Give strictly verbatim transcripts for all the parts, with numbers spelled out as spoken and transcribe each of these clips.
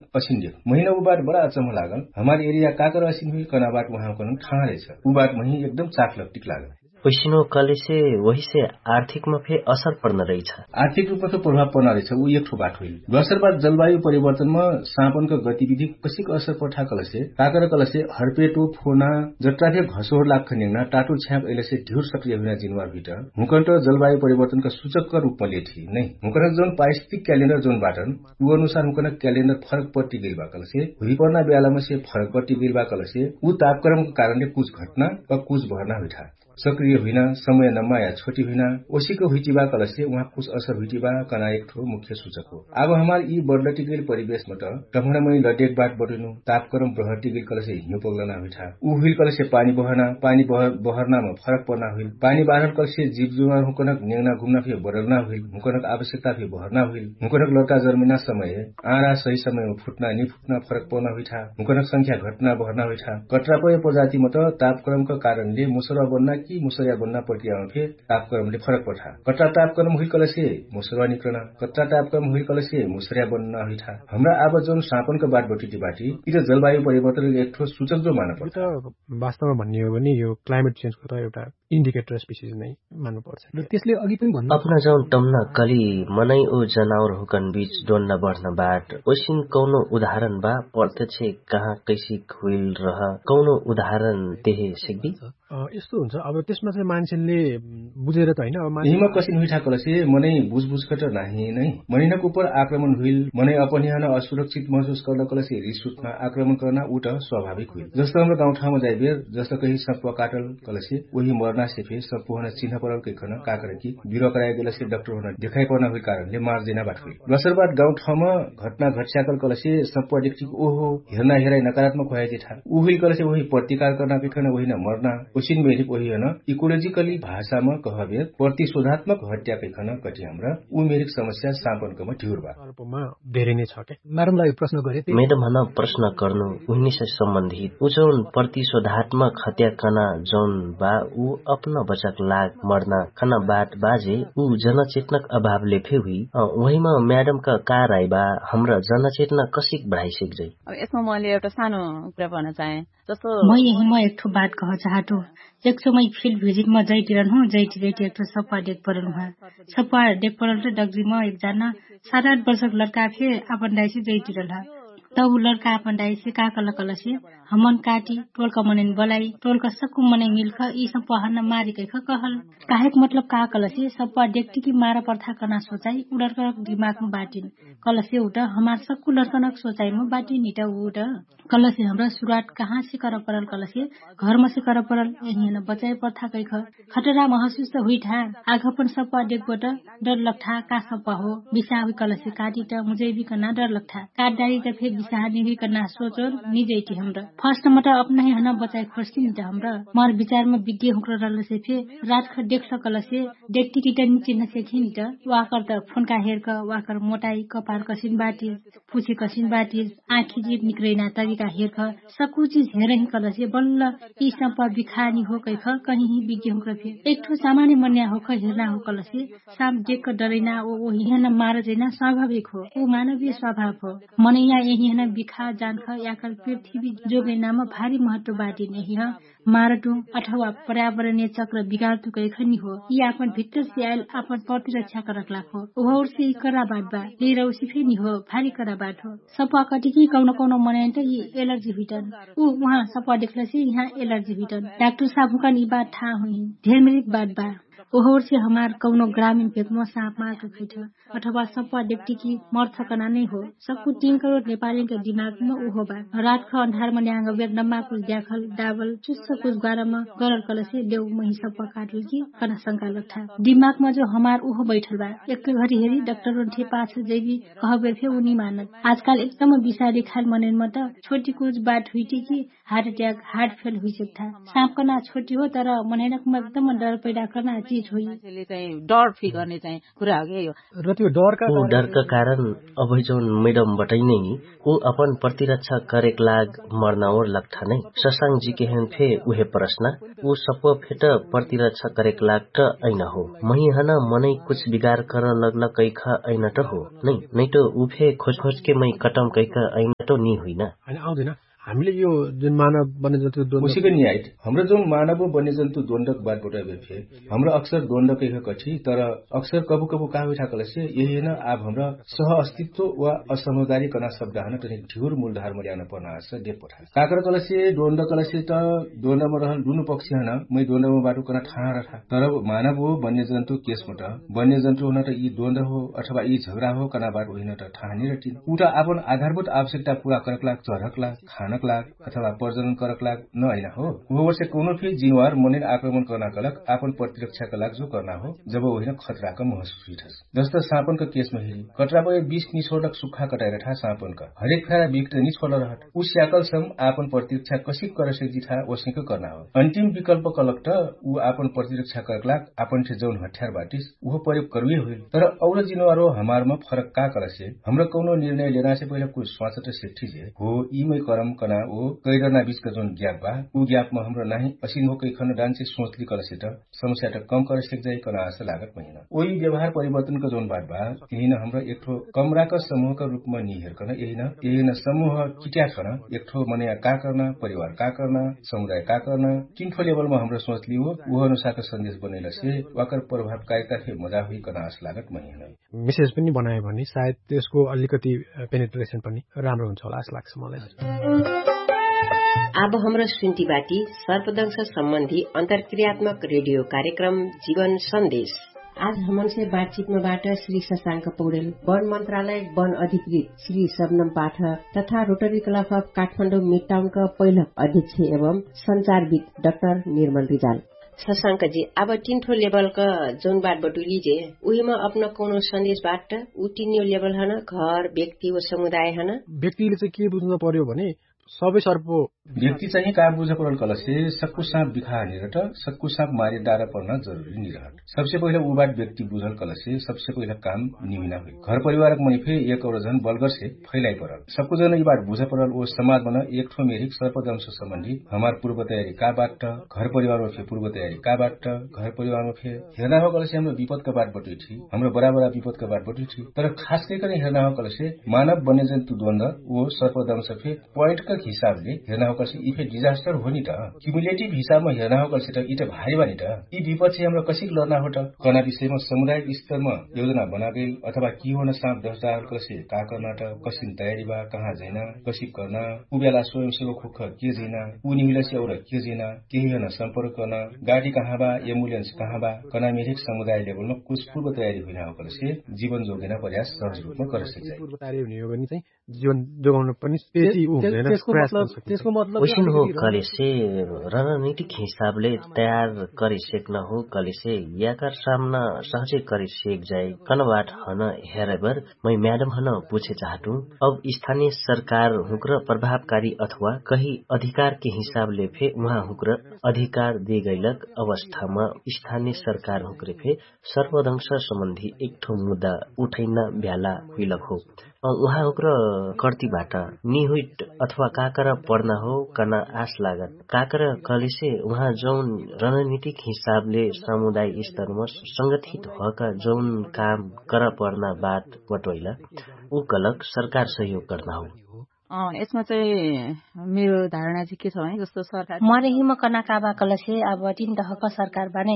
असिन देख महिना उ बात बडा अचम्ह लागल। हमार एरिया काकर असिन हुइल कना बात उहाँ कन ठाँह रहे छ। उ बात मही एकदम चाख लक्टिक लागल। ओइसिनो कलेसे ओहिसे आर्थिकमा फे असर पर्न रही छ। आर्थिक रूपमा त प्रभाव पर्न रही छ उ एक ठो बात हुइल। दोसर बात जलवायु परिवर्तनमा साँपनका गतिविधि कसिक असर पर्ठा कलसे काकर कलसे हर्पेटो फोना जट्रा फे घसोर लाग खनिङ्ना टाटुर छ्याप अइलसे ढिउर सक्रिय हुइना जिनवार भित्र हुकन्ट जलवायु परिवर्तनका सुचकका रूपमा लेठी नै हुकन्ट जौन पारिस्थितिक क्यालेन्डर जौन बाटन उ अनुसार हुकन्ट क्यालेन्डर फरक पट्टी गइल बा कलसे हुइपर्ना ब्यालामा से फरक पट्टी गइल बा कलसे उ तापक्रमका कारणले कुछ घटना वा कुछ भर्ना हुइठा सक्रिय हुइना समय नम्मा या छोटी हुइना ओसिक हुइटिबा कलसे उहाँ कुछ असर हुइटिबा कना एक ठो मुख्य सुचक हो। आब हमार यि बर्लटिगेल परिवेशमा त टम्हरमैन लडेक बाट बटुइनु तापक्रम ब्रहटिगेल कलसे हिउँ पगलना हुइठा उ हुइल कलसे पानी बहरना पानी बहरनामा फरक पर्ना हुइल पानी बाहर कलसे जिव जुवार हुकनक नेगना घुमना फे बरलना हुइल हुकनक आवश्यकता फे बहरना हुइल हुकनक लड्का जर्मिना समय आँडा सही समयमा फुट्ना निफुट्ना फरक पर्ना हुइठा हुकनक संख्या घटना बहरना हुइठा कट्रापय प्रजातिमा त तापक्रमका कारणले मुसरवा बन्ना कि मुसरवा बन्ना प्रक्रियामा फे तापक्रमले फरक पर्ठा। कट्रा तापक्रम हुइल कलसे मुसरवा निक्रना कट्रा तापक्रम हुइल कलसे मुसरवा बन्ना हुइठा। हमरा आब जौन साँपनका बाट बटिटी बाटी यि त जलवायु परिवर्तन एक ठो सुचक जो माना पर्ठा। वास्तवमा भन्ने हो भने यो क्लाइमेट चेन्जको त एउटा इन्डिकेटर स्पिसिस नै मान्नुपर्छ र त्यसले अघि पनि भन्नु अपना जौन टम्ना कली मनै ओ जनावर हुकन बीच डोन्ना बढ्न बाट ओइसिन कौनो उदाहरण बा प्रत्यक्ष कहाँ कैसिक हुइल रह कौनो उदाहरण देहे सिक्दी? यस्तो हुन्छ अब त्यसमा चाहिँ मान्छेले बुझेर त होइन अब यिमा कसिन हुइठा कलसे मनै बुझबुझ कट नाही नै मनैनक उपर आक्रमण हुइल मनै अपन यहाँ असुरक्षित महसुस कर्न कलसे रिस उठ्ना आक्रमण कर्ना उ त स्वाभाविक हुइल। जस्तो हमरा गाउँठाउँमा जाइबेर जस्तो कही सप्वा काटल कलसे ओही मर्ना से फे सप्वहन चिन्ह परल कैखन काकर कि बिरुवा कराइ गेलसे डक्टर होन देखाइ पर्ना हुइल कारणले मार जैना बाट हुइल। दोसर बात गाउँठाउँमा घटना घटस्याकल कलसे सप्वा डेक्टिक ओहो हेर्ना हेराइ नकारात्मक होया जेठा उ हुइल कलसे ओही प्रतिकार कर्ना कैखन ओही न मर्ना ओसिन मेरिक ओही हन इकोलोजिकली भाषामा कहबेर प्रतिशोधात्मक हत्या कैखन कटि हमरा उ मेरिक समस्या साँपनकमा ढिउर बा। अल्पमा धेरै नै छ के? म्याडमलाई प्रश्न गरे। म्याडम हन प्रश्न गर्नु उहिनेसे सम्बन्धित उजौन प्रतिशोधात्मक हत्या कना जौन बा उ अपन बचक लाग मर्ना कना बाट बाजे उ जनचेतनक अभावले फे हुइ। उहिमा म्याडमका का राइ बा? हमरा जनचेतना कसिक बढाइ सिक्जै? अब यसमा मैले एउटा सानो कुरा भन्न चाहे। जस्तो म यही म एक ठो बात कह चाहत हूँ। एक समय फिल्ड भिजिट म जैटिरन हूँ जैटि जैटि एक ठो सप्पा देख परल हुआ। सप्पा देख परल त डगरी म एक जाना सात आठ वर्षक लड़का फे आपन दाइसे जैटिरल ह। तब उ लड़का आपन दाइसे का कल कलसे हमन काटी टोलका मनैन बलाई टोलका सक्कु मनै मिल्ख यि सप्पा हन मारी कैख कहल। काहेक मतलब का कलसे सप्पा देख्टी कि मारा पर्था कना सोचाइ उडरकरक दिमागमा बाटिन। कलसे उट हमार सक्कु लड़कनक सोचाइमा बाटिन इट उट। कलसे हमरा सुरुवात कहाँसे कर परल कलसे घरमसे कर परल। यहिन बचाइ पर्था कैख खटरा महसुस त हुइठा। आघपन सप्पा देख्बट डर लग्ठा का सप्पा हो बिसाह हुइ कलसे काटी त मुजैबी कना डर लग्ठा काट डारी त फे बिसाह निहुइ कना सोचोर निजैटी हमरा। फर्स्ट मट अपनही हन बचाइ खोर्सी निट हमरा। मर बिचारमा बिद्य हुक्र रलसे फे रात ख देख्ल कलसे देख्टी किट निचिन्ह सेखिन त वाकर त फोनका हेर्क वाकर मोटाइ कपार कसिन बाटी पुछे कसिन बाटी आँखी जिप निक्रैना तरिका हेर्ख। सक्कु चिज हेरही कलसे बल्ल यि सप्पा बिखानी हो कैख कहिही बिज्ञ हुँक्र फे एक ठो सामान्य मन्या होख हेर्ना हो कलसे साप देख डरैना ओ ओहिहन मार जैना स्वाभाविक हो। उ मानवीय स्वाभाव हो। मनैया यहिहन बिखा जान्ख याकर पृथ्वी जोगैनामा भारी महत्व बाटिन यहिह मारटु अथवा पर्यावरणीय चक्र बिगारटु कैख निहो। यि आपन भित्तर से आइल आपन प्रतिरक्षा करक लाग हो। ओहौर से यि करा बात बा। यि रौसी फे निहो। भारी करा बात हो। सप्वा कटिकी कौनो कौनो मनैन त यि एलर्जी हुइटन। उ उहाँ सप्वा देख्लसे यहाँ एलर्जी हुइटन डाक्टर साब हुकन यि बात थाह हुइहिन। धेर मेरिक बात बा। ओहौर से हमार कौनो ग्रामीण भेकमा साप मार कखैठ अथवा सप्वा देख्टी कि मर्थ कना नै हो। सक्कु तीन करोड नेपालीका दिमागमा उहो बा। रात ख अन्धारमा ल्याङ्ग बेर नम्मा कुछ द्याखल डाबल चुस्स कुछ ग्वारामा गरल कलसे देउ मही सप्वा काटुल कि कना शंका लग्ठा। दिमागमा जो हमार उहो बैठल बा। एक्के घरी हेरी डक्टर उन्ठे पाछ जैबी कहबेर फे उनी मानत। आजकाल एकदम बिसारी खाल मनैनमा त छोटी कुछ बात हुइटी कि हार्ट अट्याक हार्ट फेल हुइसक्ठा। साप कना छोटी हो तर मनैनकमा एकदम डर पैदा कर्ना। चिज होइ। डर फिगरने चाहिँ कुरा हो कि यो। र त्यो डरका उ डरका कारण अबै जौन मैडम बटैनै उ अपन प्रतिरक्षा करेक लाग मर्नाओर लग्ठा नै। ससाङ जी केहेन फे उहे प्रश्न उ सप्प फेट प्रतिरक्षा करेक लाग त ऐन हो। महिहन मनै कुछ बिगार कर लग्ल कैख ऐन त हो नै। नै त उ फे खोजखोजके मै कटम कैख ऐन त नि हुइन। अनि आउँदैन। हामीले यो जुन मानव वन्यजन्तु द्वन्द्व उसिक नि आइत। हमरा जौन मानव वन्यजन्तु द्वन्द्वक बात बटैबे फे हमरा अक्सर द्वन्द्व कैख कठी। तर अक्सर कबु कबु का हुइठा कहलसे यही न आब हमरा सह अस्तित्व वा असमझदारी कना शब्द हन तनी ढिउर मूलधार मल्यान पर्ना आस देख पठा। काकर कहलसे द्वन्द्व कहलसे त द्वन्द्वम रहल दुनु पक्ष हन मै द्वन्द्वम बाटु कना ठाहा रठा। तर मानव हो वन्यजन्तु केसम त वन्यजन्तु हुन त यि द्वन्द्व हो अथवा यि झगडा हो कना बाटु हुइन त ठाहा निरटिन। उ त आपन आधारभूत आवश्यकता पुरा करक लाग चरक लाग खानक लाग अथवा प्रजनन करक लाग न अइना हो। उहो वर्ष कौनो फे जिनवार मनिन आक्रमण करना कलक आपन प्रतिरक्षा कलक जो करना हो। जब ओहिन खतरा क महसुस हुइठस जस्त सापन क केस महिरी कटरा पर बीस निछोडक सुखा कटाइरठा सापन क हरेक फेरा बिक्ट निछोड रहट। उ स्याकल सम आपन प्रतिरक्षा कसिक करसेक जिठा ओसिक करना हो। अन्तिम विकल्प कलक त उ आपन प्रतिरक्षा करक लाग आपन ठे जौन हठ्यार बाटिस उहो प्रयोग करुए हुइल। तर औल जिनवार हो हमार म फरक का करसे हमरा कौनो निर्णय लेना से पहिला कुछ स्वाचट सेक्ठी जे हो यि मै करम कना ओ कैरना बिचका जौन ग्याप बा उ ग्याप म हमरा नाहि असिन हो कैखन डान्से सोचली कहलसे त समस्या त कम करे सेक्जाइ कना आस लागत महिना। ओइ व्यवहार परिवर्तन क जौन बात बा यहिन हमरा एकठो कमरा क समूह क रूप म निहेर कन यहिन यहिन समूह किट्याठ कन एकठो मनया का करना परिवार का करना समुदाय का करना किन्ठो लेबल म हमरा सोचली हो। उह अनुसार क सन्देश बनैलसे वाकर प्रभावकारिता फे मजा हुइ कना आस लागत महिना। मेसेज पनि बनायो भने सायद त्यसको अलिकति पेनिट्रेसन पनि राम्रो हुन्छ होला जस्तो लाग्छ मलाई। आब हमरा सुन्ती बाटी सर्पदंश सम्बन्धी अन्तरक्रियात्मक रेडियो कार्यक्रम जीवन सन्देश। आज हमनसे बातचितमा बाट श्री सशाङ्क पौडेल वन मन्त्रालय वन अधिकृत श्री सबनम पाठक तथा रोटरी क्लब अफ काठमाडौँ मिडटाउनका पहिला अध्यक्ष एवं सञ्चारविद डाक्टर निर्मल रिजाल। सशाङ्क जी आब टिन्ठो लेबल क जौन बाट बटुली जे उहिमा अपना कौनो सन्देश बाट उ टिन्यो लेबल हन घर व्यक्ति व समुदाय हन। व्यक्तिले चाहिँ के बुझ्न पर्यो भने सबै सर्प व्यक्ति चाहिँ का बुझ परल कलसे सक्कु साँप बिखा निरहट सक्कु साँप मारे डार पर्न जरुरी निरहट। सबसे पहिला उ बाट व्यक्ति बुझल कलसे सबसे पहिला काम निमिना हुइ घर परिवारक मनी फे एक और झन बलगर से फैलाइ परल सक्कु जन यि बाट बुझ परल ओ समाज मन एकठो मेरिक सर्पदंश सम्बन्धी हमार पूर्व तयारी का बाट घर परिवार मा फे पूर्व तयारी का बाट घर परिवार मा फे हेर्ना हो कलसे हमरा विपद का बाट बटुइ थी हमरा बराबर विपद का बाट बटुइ थी। तर खास करिकन हेर्ना हो कलसे मानव वन्यजन्तु द्वन्द ओ सर्पदंश फे पोइन्ट का हिसाबले हेर्ना हो कलसे यि फे डिजास्टर हो नि त। क्युमुलेटिभ हिसाबमा हेर्ना हो कलसे त यि त भारी बा नि त। यि विपद से हमरा कसिक लर्ना हो त कना विषयमा समुदायक स्तरमा योजना बनागेल अथवा कि हो न साँप दस डाहल कलसे का कर्ना त कसिन तयारी बा कहाँ जैना कसिक कर्ना उ बेला स्वयंसेवक हुख के जैना उ निहुलसे और के जैना केही हन सम्पर्क कर्ना गाडी कहाँ बा एम्बुलेन्स कहाँ बा कना मेरिक समुदाय लेबलमा कुछ पूर्व तयारी हुइना हो कलसे जीवन जोगेना प्रयास सहज रूपमा करे सके। पूर्व तयारी हुने हो भने चाहिँ जीवन जोगाउन पनि त्यति उ हुँदैन। त्यसको मतलब त्यसको मतलब ओइसन हो कलेसे रणनीतिक हिसाबले तयार करे सेक्न हो कलेसे याकर सामना सहजे करे सेक जाए कनबाट हन हेरेबर मै म्याडम हन पुछे चाहटु। अब स्थानीय सरकार हुँक्र प्रभावकारी अथवा कही अधिकारके हिसाबले फे उहाँ हुँक्र अधिकार देगैलक अवस्थामा स्थानीय सरकार हुँक्रे फे सर्वदंश सम्बन्धी एकठो मुद्दा उठैना भ्याला हुइलक हो। उहाँ हुँक्र कर्तिबाट निहुइट अथवा काकर पर्ना हो कना आश लागत काकर कहलेसे उहाँ जौन रणनीतिक हिसाबले समुदाय स्तरमा संगठित होका जौन काम कर पर्ना बात बटोइला उ कलक सरकार सहयोग कर्ना हो। अँ, यसमा चाहिँ मेरो धारणा चाहिँ के छ भने जस्तो सरकार मरेहिम कना काबा कलसे अब तिन दहक सरकार बाने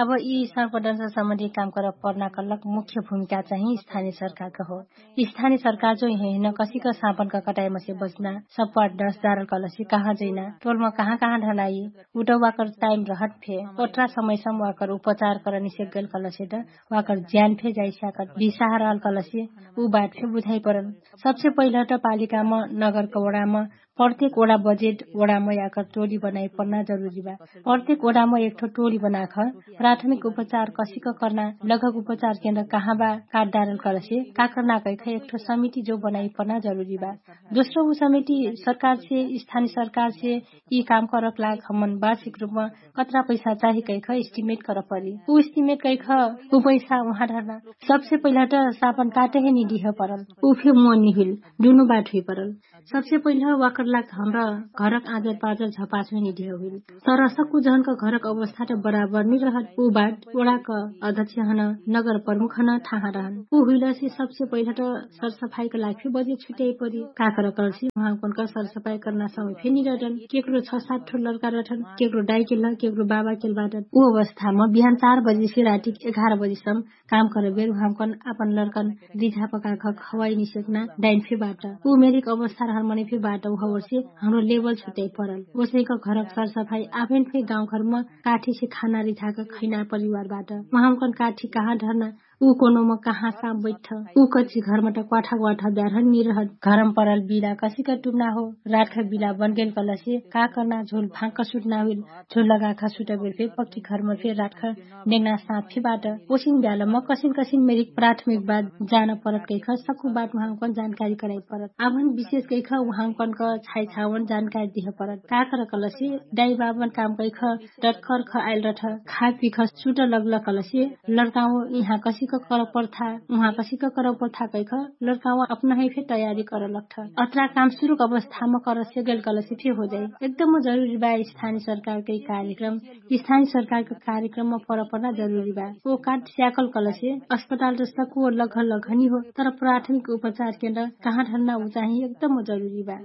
अब यी सर्वदंश सम्बन्धी काम कर पर्ना कलक मुख्य भूमिका चाहिँ स्थानीय सरकारका हो। स्थानीय सरकार जो हेन कसिक साँपनका कटाइमसे बच्ना सप्पा दस जारल कलसे कहाँ जैना टोलमा कहाँ कहाँ ढलाई उटौवाकर टाइम रहत फे ओट्रा समयसम वाकर उपचार कर निसेक गैल कलसे त वाकर ज्यान फे जाइस्याकर बिसाह रहल कलसे उ बात फे बुझाइ परल। सबसे पहिला त पालिकामा नगरकौडामा प्रत्येक ओडा बजेट ओडामा याकर टोली बनाइ पर्ना जरुरी बा। प्रत्येक ओडामा एकठो टोली बनाख प्राथमिक उपचार कसिक कर्ना, लगक उपचार केन्द्र कहाँ बा, काटदारल करसे का कर्ना कैख एकठो समिति जो बनाइ पर्ना जरुरी बा। दोस्रो उ समिति सरकारसे, स्थानिय सरकारसे यि काम करक लाग हमन वार्षिक रुपमा कत्रा पैसा चाहि कैख इस्टिमेट करपरी। उ इस्टिमेट कैख उ पैसा उहाँ ढर्ना। सबसे पहिला त सापन काटहे निदिह परल। उ फे मोनी हुइल। दुनु बाट हुइ परल। सबसे पहिला वाकर लाग हमरा घरक आजर पाजर झपास हुइ निदिह हुइल। तर सक्कु जहनक घरक अवस्था त बराबर निरहत। उ बाट ओडाक अध्यक्ष हन, नगर प्रमुख हन थाहा रहन। उ हुइलसे सबसे पहिला त सरसफाइक लाग फे बजेट छुट्याइ परी। काकर करसी उहाँकनक सरसफाइ कर्ना समय फे निरहटन। केकरो छ सात ठो लर्का रहटन। केकरो डाइकेल केकरो बाबाकेल बाटन। उ अवस्थामा बिहान चार बजेसे रातिक एघार बजेसम काम करबेर उहाँकन आपन लर्कन रिझा पकाख खवाइ निसेक्ना डाइन फे बाट। उ मेरिक अवस्था रहल मनै फे बाट उहवर्षे हमरो लेबल छुट्याइ परल। ओसैक घरक सरसफाइ आफैन फे गाउँघरमा काठीसे खाना रिझाक खैना परिवार बाट। उहाँकन काठी कहाँ ढर्ना, उ कोनोम कहाँ साप बैठ। उ कच्ची घरमट क्वाठा क्वाठा ब्यारहन निरहत। घरम परल बिला कसिक टुर्ना हो। रातख बिला बनगेल कलसे का कर्ना झोल भाँक सुट्ना हुइल। झोल लगाख सुटबेर फे पक्की घरम फे रातख नेगना साप फे बाट। ओसिन ब्यालम कसिन कसिन मेरिक प्राथमिक बात जान परत कैख सक्कु बात उहाँकन जानकारी कराइ परत। आभन विशेष कैख उहाँकनक छाइ छावन जानकारी दिह परत। का कर कलसे डाइ बाबन काम कैख डटकर ख आइल रठ। खा पिख सुट लगल कलसे लर्काओ इहाँ कसिक कर पर्था, उहाँ कसिक कर पर्था कैख लर्काओ अपनहै फे तयारी कर लग्ठ। अत्रा काम सुरुक अवस्थाम करसे गेल कलसे फे हो जाइ। एकदम जरुरी बा स्थानिय सरकारकै कार्यक्रम। स्थानिय सरकारक कार्यक्रम पर पर्ना जरुरी बा। ओ काट स्याकल कलसे अस्पताल जस्ता को लघ लघ निहो, तर प्राथमिक उपचार केन्द्र कहाँ ढर्ना उ चाहि एकदम जरुरी बा।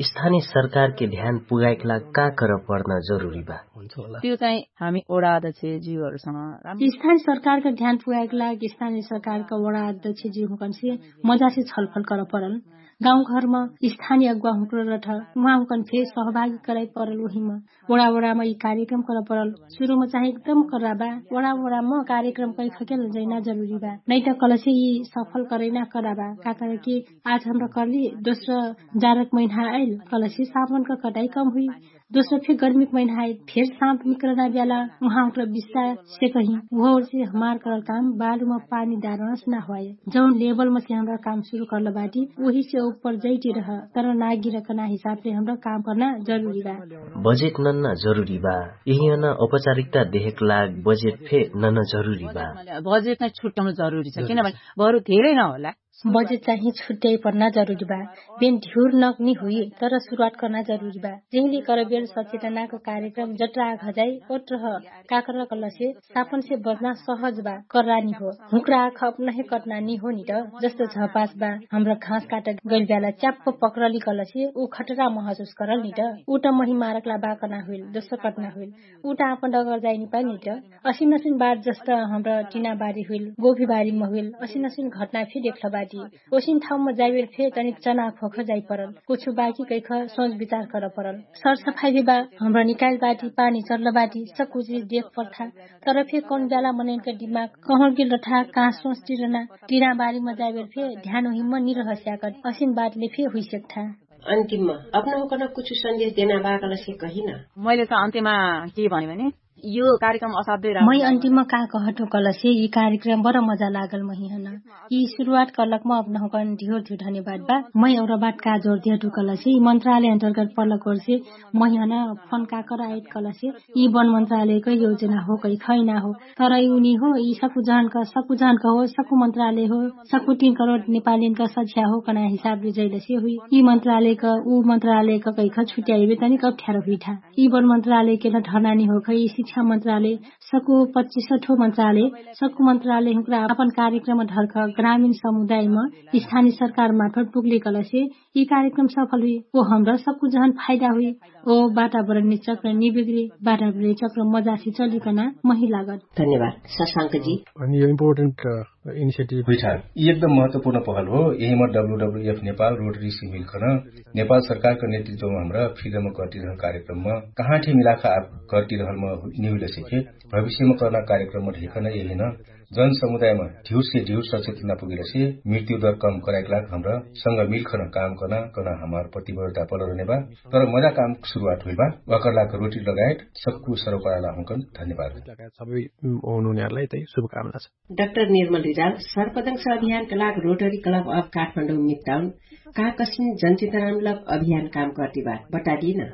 स्थानिय सरकारके ध्यान पुगाइक लाग का कर पर्ना जरुरी बा? त्यो चाहि हामी ओडा अध्यक्ष जिउहरुसँग स्थानिय सरकारक ध्यान पुगाइक लाग स्थानिय सरकारक ओडा अध्यक्ष जिउहुँकनसे मजासे छलफल कर परल। गाउँघरम स्थानिय अगुवा हुँक्र रठ उहाँहुँकन फे सहभागी कराइ परल। ओहिम ओडा ओडाम यि कार्यक्रम कर परल। सुरुम चाहि एकदम कराबा ओडा ओडाम कार्यक्रम कैख केल जैना जरुरी बा। नैत कलसे यि सफल करैना कराबा। काकरकी आज हमरा करली दोस्रो जारक महिना आइल कलसे सापनक कटाइ कम हुइ। दोस्रो फे गर्मिक महिना आइल फेर साप निकरना ब्याला उहाँहुँक्र बिस्सा से कहि उहवर्षे हमार करल काम बालुम पानी दारनस ना हुवाइ। जौन लेबल मसे हमरा काम सुरु कर्ल बाटी ओहिसे उप्पर जैटी रह। तर नागिरकना हिसाबसे हमरा काम कर्ना जरुरी बा। बजेट नन्ना जरुरी बा। यहियन औपचारिकता देहेक लाग बजेट फे नन्ना जरुरी बा। बजेट नै छुट्याउनु जरुरी छ किनभने बरु धेरै नहोला। बजेट चाहि छुट्याइ पर्ना जरुरी बा। बेन ढिउर नक नि हुइ तर सुरुवात कर्ना जरुरी बा। जेहिले करबेल सचेतनाक कार्यक्रम जट्रा घजाइ ओट्रह काकर कलसे सापनसे बजना सहज बा। कर्रा निहो हुँक्रा खप नहे कट्ना निहो निट। जस्तो झपास बा हमरा घाँस काट गैल ब्याला च्याप्प पक्रली कलसे उ खट्रा महसुस करल निट। उट महि मारकला बा कना हुइल दोस्रो कट्ना हुइल। उट आपन डगर जाइ निपा निट। असिन असिन बार जस्त हमरा टिना बारी हुइल गोभी बारी महुइल असिन असिन घट्ना फे देख्ल बाटी। ओसिन ठाउमा जाइबेर फे तनिक चना खोख जाइ परल। कुछु बाकी कैख सोच विचार कर परल। सरसफाइ भी बा हमरा निकाइल बाटी पानी चल्ल बाटी सक्कु चिज देख पर्था। तर फे कौन ब्याला मनैनक दिमाग कहौँ गेल रठा कहाँ सोच टिरना टिना बारीमा जाइबेर फे ध्यान ओहिम निरहस्याकट असिन बाटले फे हुइसेक्ठा। अन्तिममा अपनहुँकन कुछु सन्देश देना बा कलसे कहिन। मैले त अन्त्यमा के भने भने यो कार्यक्रम असाध्यै मै अन्तिममा का कहटु कलसे यि कार्यक्रम बर मजा लागल महिहन। यि सुरुवात कलकमा अपनहुँकन ढियोर ढियो धन्यवाद बा। मै औरा बात का जोर दिहटु कलसे यि मन्त्रालय अन्तर्गत पलक ओरसे महिहन फोन का कराइत कलसे यि वन मन्त्रालयक योजना हो कैखैना हो। तर यि उनी हो यि सकुजहनक सकुजहनक हो सकु मन्त्रालय हो। सकु तीन करोड नेपालीनक सझ्या हो कना हिसाबले जैलसे हुइ यि मन्त्रालयक उ मन्त्रालयक कैख छुट्याइबे तनिक अप्ठ्यारो हुइठा। यि वन मन्त्रालयके न ढर्ना निहोख यि शिक्षा मन्त्रालय सकु पच्चिस ठो मन्त्रालय सकु मन्त्रालय हुँक्रा अपन कार्यक्रम ढर्ख ग्रामिण समुदायम स्थानिय सरकार मार्फत पुग्ले कलसे यि कार्यक्रम सफल हुइ। ओ हमरा सकु जहन फाइदा हुइ। ओ वातावरण निचक्र निबिग्री वातावरण निचक्र मजासे चलिकना महिलागत। धन्यवाद। सशांक जी अनि यो इम्पोर्टेन्ट इनिसिएटिभ हुइठा यि एकदम महत्वपूर्ण पहल हो। यहिमा W W F Nepal rotary simile खन नेपाल सरकारक नेतृत्वमा हमरा फ्रिडम कर्तिरहल कार्यक्रममा कहाँ ठे मिलाखा आप कर्तिरहलमा निहुइल सिखे। भविष्यमा कर्ना कार्यक्रम ढेकन यहिन जनसमुदायमा ढिउरसे ढिउर सचेतना पुगेलसे मृत्युदर कम कराइक लाग हमरा संग मिलखन काम कर्ना कर्ना हमार प्रतिबद्धता पलरने बा। तर मजा काम सुरुवात हुइल बा। वाकर लाग रोटी लगायत सक्कु सरोपाराला हुँकन धन्यवाद। सबै हुनुहुनेहरूलाई तै शुभकामना छ। डाक्टर निर्मल रिजाल सर्पदंश अभियानका लाग रोटरी क्लब अफ काठमाडौँ मिडटाउन का कसिन जनचेतनामूलक अभियान काम गर्दिबा बतादिन।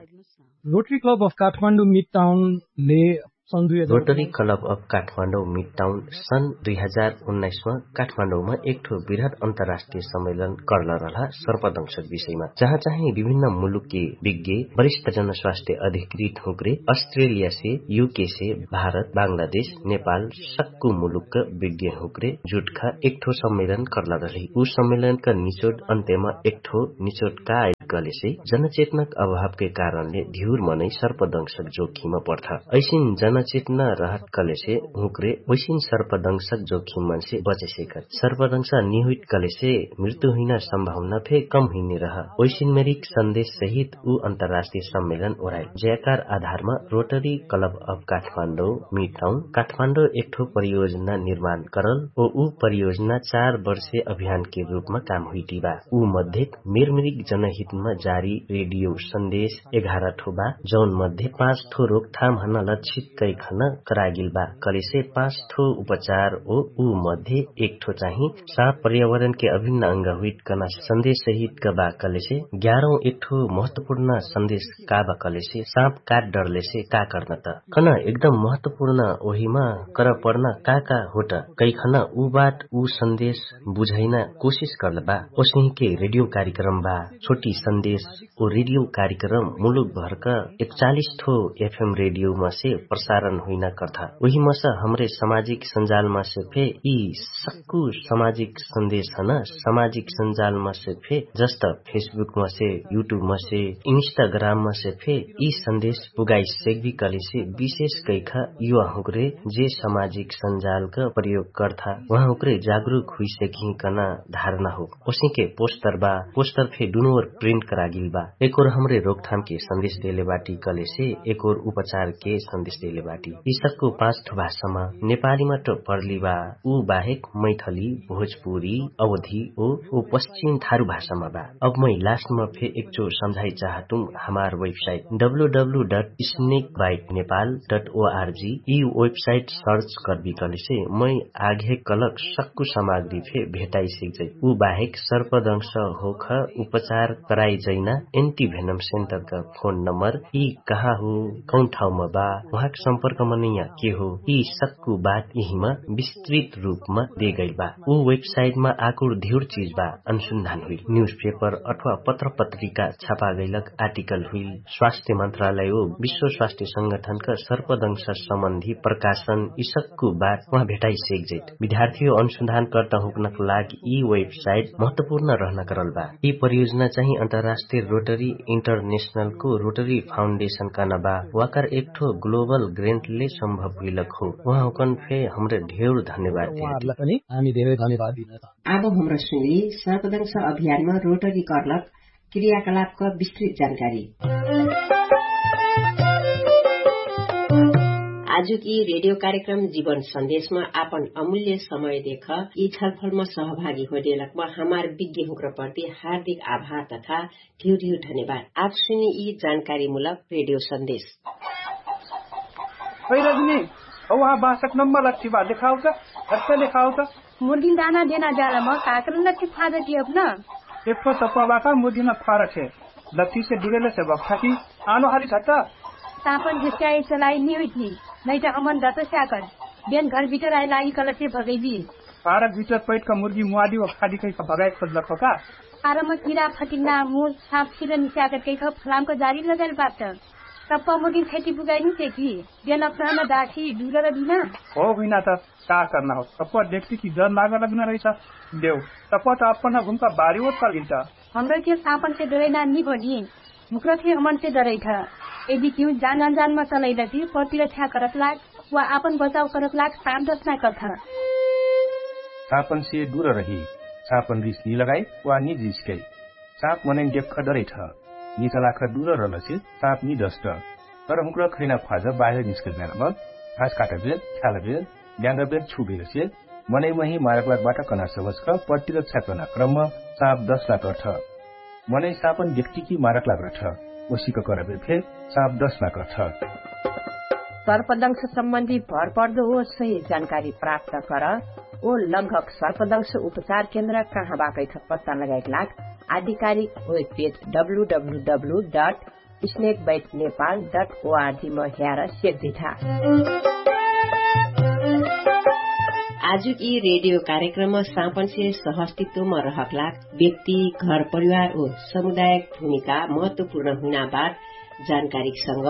रोटरी क्लब अफ काठमाडौँ मिडटाउनले सन् दुई हजार रोटरी क्लब अफ काठमाडौँ मिडटाउन सन् दुई हजार उन्नाइसमा काठमाडौँमा एकठो बृहत अन्तर्राष्ट्रिय सम्मेलन कर्ल रहला सर्पदंशक विषयमा, जहाँ चाहिँ विभिन्न मुलुकके विज्ञ वरिष्ठ जनस्वास्थ्य अधिकृत हुँक्रे अस्ट्रेलियासे युकेसे भारत बाङ्गलादेश नेपाल सक्कु मुलुकक विज्ञ हुँक्रे जुटखा एकठो सम्मेलन कर्ला रहली। उ सम्मेलनक निचोट अन्त्यमा एकठो निचोट का आइल कहलेसे जनचेतनक अभावके कारणले धिउर मनै सर्पदंशक जोखिम पर्था। ऐसिन जनचेतना रहत कहलेसे हुँक्रे ओइसिन सर्पदंशक जोखिम मनसे बचेसेकर सर्पदंशा निहुइट कहलेसे मृत्यु हुइना सम्भावना फे कम हुइने रह। ओइसिन मेरिक सन्देश सहित उ अन्तर्राष्ट्रिय सम्मेलन ओराइल जयकार आधारमा रोटरी क्लब अफ काठमाडौँ मिडटाउन काठमाडौँ एकठो परियोजना निर्माण करल। ओ उ परियोजना चार वर्षे अभियानके रूपमा काम हुइटिबा। उ मध्ये मेरमेरिक जनहितमा जारी रेडियो सन्देश एघार ठो बा, जौन मध्ये पाँच ठो रोकथाम हन लक्षित कैखन करागिल बा। कलेसे पाँच ठो उपचार ओ उ मध्ये एक ठो चाहिँ साँप पर्यावरणके अभिन्न अंग हुइट कना सन्देश सहितका बा। कलेसे ग्यारौँ एक ठो महत्वपूर्ण सन्देश का बा कलेसे साँप काट डरलेसे का कर्न त कन एकदम महत्वपूर्ण ओहिमा कर पर्न का का होट कैखन उ बात उ सन्देश बुझैना कोसिस कर्ल बा। ओसहिके रेडियो कार्यक्रम बा छोटी सन्देश ओ रेडियो कार्यक्रम मुलुक भरक एकचालिस ठो एफएम रेडियो मसे प्रसारण हुइना कर्था। उही मस हमरे समाजिक सन्जाल मसे फे यि सक्कु समाजिक सन्देश हन समाजिक सन्जाल मसे फे जस्त फेसबुक मसे युट्युब मसे इन्स्टाग्राम मसे फे यि सन्देश पुगाइ सेक्बि कलेसे विशेष कैखा युवा हुँक्रे जे समाजिक सन्जालक प्रयोग कर्था उहाँ हुँक्रे जागरुक हुइसेकही कना धारणा हो। ओसिके पोस्टर बा पोस्टर फे दुनोर प्रिन्ट करागिल बा। एकोर हमरे रोकथामके सन्देश देले बाटी कलेसे एकोर उपचारके सन्देश देले बाटी। यि सक्कु पाँच ठो भाषामा नेपालीमा त पर्ली बा उ बाहेक मैथली भोजपुरी अवधि ओ ओ पश्चिम थारु भाषामा बा। अब मै लास्टमा फे एकचो सम्झाइ चाहतुम हमार website W W dot snake bite Nepal dot ORG यि वेबसाइट सर्च कर्बि कलेसे मै आघे कलक सक्कु सामग्री फे भेटाइ सिक्जै। उ बाहेक सर्पदंश होख उपचार कराइ जैना एन्टिभेनम सेन्टरक फोन नम्बर यि कहाँ हो कौन ठाउँमा बा उहाँक सम्पर्क मनैया के हो यि सक्कु बात यिहिमा विस्तृत रूपमा देगैल बा। उ वेबसाइटमा आकुर धिउर चिज बा अनुसन्धान हुइल न्युज पेपर अथवा पत्र पत्रिका छापागैलक आर्टिकल हुइल स्वास्थ्य मन्त्रालय ओ विश्व स्वास्थ्य संगठनक सर्पदंश सम्बन्धी प्रकाशन यि सक्कु बात उहाँ भेटाइ सेक्जैत। विद्यार्थी ओ अनुसन्धानकर्ता हुँकनक लाग यि वेबसाइट महत्वपूर्ण रहन करल बा। यि परियोजना चाहिँ अन्तर्राष्ट्रिय रोटरी इन्टरनेशनलको रोटरी फाउन्डेशनका नबा वाकर एकठो ग्लोबल ग्रेन्टले सम्भव हुइलक हो। उहाँ हुँकन फे हमरे ढेउर धन्यवाद दिना त। आब हमरा सुनी सर्पदंश अभियानमा रोटरी कर्लक क्रियाकलापक विस्तृत जानकारी। आजुकी रेडियो कार्यक्रम जीवन सन्देशमा आपन अमूल्य समय देख यि छलफलमा सहभागी होइदेलकमा हमार विज्ञ हुँक्र प्रति हार्दिक आभार तथा ढिउ ढिउ धन्यवाद। आब सुनी यि जानकारीमूलक रेडियो सन्देश। ओइ रजनी, हौ वहाँ बासक नम्बर लट्ठी बा देखाउ त। हट्ट देखाउ त। मुर्गिन दाना देना जालम काकर लट्ठी फादक यब न। एक्ठो सप्पा बाका मुर्गिन फारक हे। लट्ठी से डुरेले से बक्ठा कि आनो हाली छट्ट। तापन घिस्याए चलाई निहुइथी। नैट अमन दत स्याकर। बेन घर भितर आइ लागि कलसे भगैबी। फारक भितर पैटक मुर्गी मुवादी व खादी कैख भगाइ खोजलक हो का। फारम किरा फटिन्ना मुर साँप सिर निस्याकर कैख फलामक जारी लगैल बात। सप्पा मुर्गिन खैती बुगाइ निसे कि। बेन अप्ठहन दासी डुरर दिना। हो हुइना त। का कर्ना हो तप्पा देख्ति कि जर नागल बिना रहिछ। देउ तप्पा त अप्पन घुमका बारी ओत कलिन्त। हमरा के साँपन से डरैना निभनी। मुक्र फे हमन से डरैठ। यदि किउ जान अनजानमा चलैलति प्रतिरक्षा करत लाग वा आपन बचाव करत लाग साँप दसना कथ। साँपन से डुर रही। साँपन रिस निलगाइ वा निजिस्कै। साँप मनैन देख्ख डरैठ। निचलाख डुर रलसे साँप निदस्ट। तर हुक्र खैना ख्वाज बाहिर निस्कैना। घास काटबेर ख्यालबेर ल्याङ्गबेर छुबेरसे मनै मही मारक लागबाट कना सवस्क पट्टिरक्षा कना क्रम साप दश लाग अर्थ। मनै सापन व्यक्तिकी मारक लाग अर्थ। ओसिक करबेर फेर साप दश लाग अर्थ। सर्पदंश सम्बन्धी भरपर्दो ओ सही जानकारी प्राप्त कर। ओ लगभग सर्पदंश उपचार केन्द्र कहाँ बाकैथ पत्ता लगाइक लाग आधिकारिक webpage W W W dot snake bite Nepal dot ओआरजी म ह्यार सेक्दिठा। आजुक यि रेडियो कार्यक्रम सापनसे सहस्तित्वम रहक लाग व्यक्ति घर परिवार ओ समुदायक भूमिका महत्वपूर्ण हुइना बात जानकारीक संग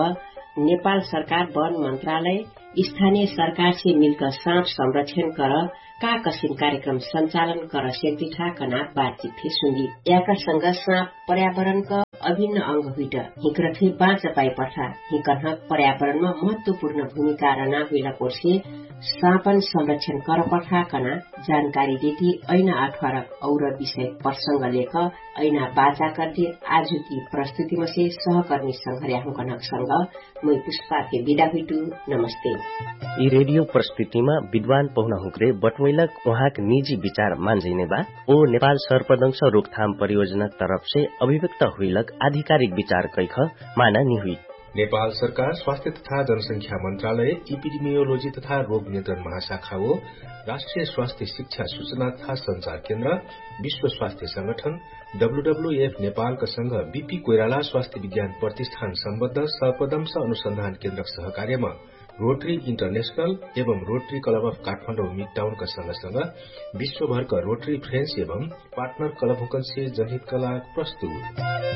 नेपाल सरकार वन मन्त्रालय स्थानिय सरकारसे मिल्क साप संरक्षण कर का कसिम कार्यक्रम सञ्चालन कर सेक्दिठा कना बातचित फे सुन्दी। याकर संग साप पर्यावरणक अभिन्न अंग हुइट हिकरथे बाँच पाइपठा हिकन्हक पर्यावरणम महत्वपूर्ण भूमिका रना हुइला कोर्से सापन संरक्षण करपठा कना जानकारी देती। ऐना अठवारक और विषय प्रसंग लेख ऐना बाचा कर्दे आजुकी प्रस्तुतिमसे सहकर्मी संघर्याहुकन्हक संग मै पुष्पाके बिदा हुइटु। नमस्ते। यि रेडियो प्रस्तुतिमा विद्वान पहुना हुँक्रे बटुवैलक उहाँक निजी विचार मान्जैने बा ओ नेपाल सर्पदंश रोकथाम परियोजना तरफसे अभिव्यक्त हुइलक आधिकारिक विचार कैख माना निहुइ। नेपाल सरकार स्वास्थ्य तथा जनसंख्या मन्त्रालय इपिडिमियोलोजी तथा रोग नियन्त्रण महाशाखा ओ राष्ट्रिय स्वास्थ्य शिक्षा सूचना तथा सञ्चार केन्द्र विश्व स्वास्थ्य संगठन डब्लुडब्लुएफ नेपालका संग बिपी कोइराला स्वास्थ्य विज्ञान प्रतिष्ठान सम्बद्ध सर्पदंश अनुसन्धान केन्द्रक सहकार्यमा रोटरी इन्टरनेशनल एवं रोटरी क्लब अफ काठमाडौं मिडटाउनका संग संग विश्वभरका रोटरी फ्रेन्स एवं पार्टनर क्लबहुँकन्से जनहितका लाग प्रस्तुत।